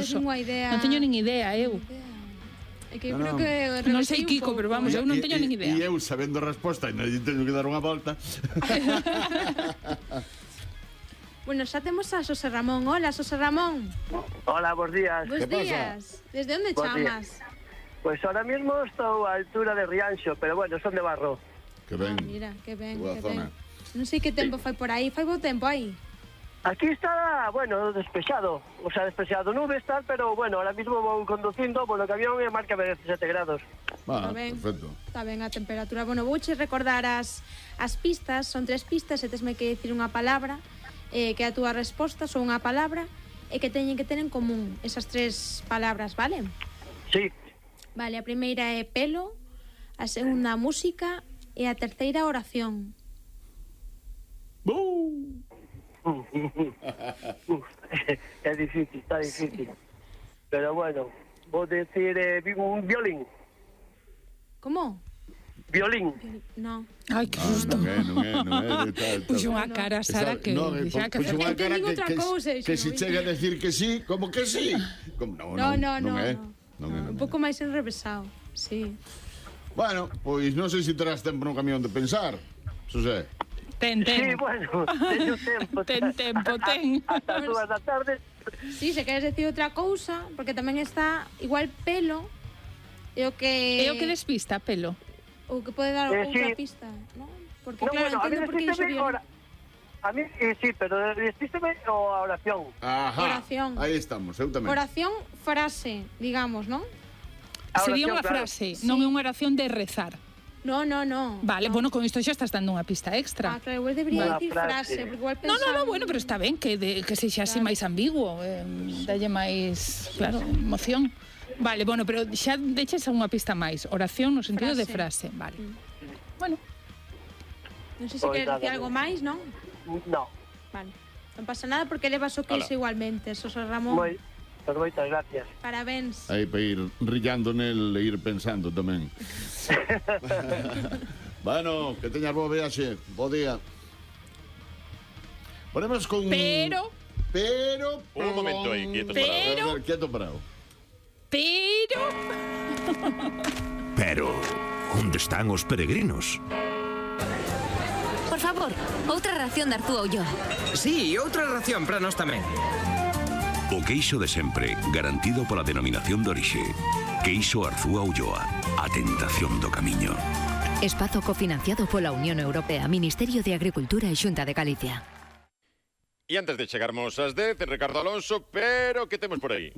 curioso. Non teño nin idea, eu. É que eu creo que Non sei Kiko, pero vamos, eu non teño nin idea. E eu, sabendo a resposta, ainda teño que dar unha volta. Bueno, xa temos a Xosé Ramón. Hola, Xosé Ramón. Hola, bons días. Bos días. Desde onde chamas? Pues ahora mismo estou a altura de Rianxo, pero bueno, son de Barro. Que ben. Mira, que ben, Boa que ben. zona. Non sei que tempo fai por aí. Fai bo tempo aí? Aquí está, bueno, despexado. O sea, despexado nubes, tal, pero bueno, ahora mismo vou conducindo polo camión e marca 17 grados. Va, Está ben. perfecto. Está ben a temperatura. Bueno, vouche recordar as pistas. Son 3 pistas e tesme que dicir unha palabra que a túa resposta son unha palabra e que teñen que ter en común esas 3 palabras, vale? Sí. Vale, a primeira é pelo, a segunda música e a terceira oración. É difícil, está difícil. Pero bueno, vou decir un violín. Como? Violín. No. Ai, que susto. Non é. Puxo unha cara, Sara, que xa que puxo unha cara outra cousa, que se chega a decir que sí, como que sí. Non é. Un pouco máis enrevesado, sí. Bueno, pois non sei se terás tempo no camión de pensar, Xosé. Ten. Sí, bueno, teño tempo. Ten tempo, ten. Hasta 2 da tarde. Sí, se queres decir outra cousa, porque tamén está igual pelo, e o que... E o que despista, pelo? O que pode dar outra sí. pista, ¿no? Porque No, claro, bueno, a mí entendo por que dixo despísteme violín. a mí sí, pero despísteme o a oración. Ajá. Oración. Aí estamos, eu tamén. Oración, frase, digamos, ¿no? A Sería oración, unha claro. frase, Sí. non é unha oración de rezar. No. Vale, bueno, con isto xa estás dando unha pista Ah, extra. claro, igual debería Unha decir frase. frase, porque igual No, pensaba... bueno, pero está ben que sexa así máis ambiguo, dalle máis, claro, emoción. Vale, bueno, pero xa deches unha pista máis, oración no sentido de frase, vale. Bueno, Non sei se Pois queres nada, decir algo máis, non? No. Vale. Non pasa nada porque levas o queixo igualmente, Xosé Ramón. Pues moitas gracias. Parabéns. Aí para ir rillando nel e ir pensando tamén. Bueno, que teñas boa viaxe, bo día. Ponemos con... pero Un momento aí, quieto Pero- A ver, quieto parado. Pero, onde están os peregrinos? Por favor, outra ración de Arzúa Ulloa. Sí, outra ración para nós tamén. O queixo de sempre, garantido pola denominación de orixe. Queixo Arzúa Ulloa, a tentación do camiño. Espazo cofinanciado pola Unión Europea, Ministerio de Agricultura e Xunta de Galicia. E antes de chegarmos ás 10, Ricardo Alonso, pero que temos por aí?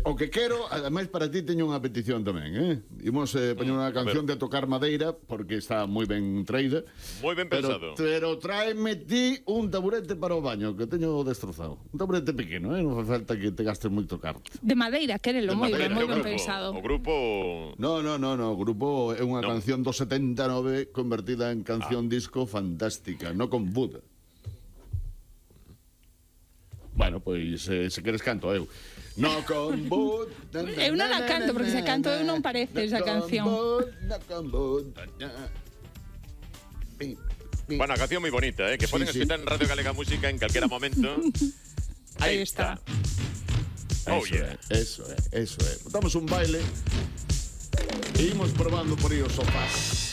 O que quero, ademais para ti teño unha petición tamén, Imos poñer unha canción de tocar madeira porque está moi ben traída. Moi ben pensado. Pero tráeme ti un taburete para o baño que teño destrozado. Un taburete pequeno, non fai falta que te gastes moito carto. de madeira, quérelo, moi ben pensado. O grupo... No, o grupo é unha canción do 79 convertida en canción disco fantástica, no con Buda. Bueno, pois se queres canto eu. No con Buda. Eu non a canto, porque se canto eu non parece esa canción. No con Buda. Bueno, a canción moi bonita, que poden escutar en Radio Galega Música en calquera momento. Aí está. Oh, yeah. Eso é. Damos un baile e imos probando por aí os sofás.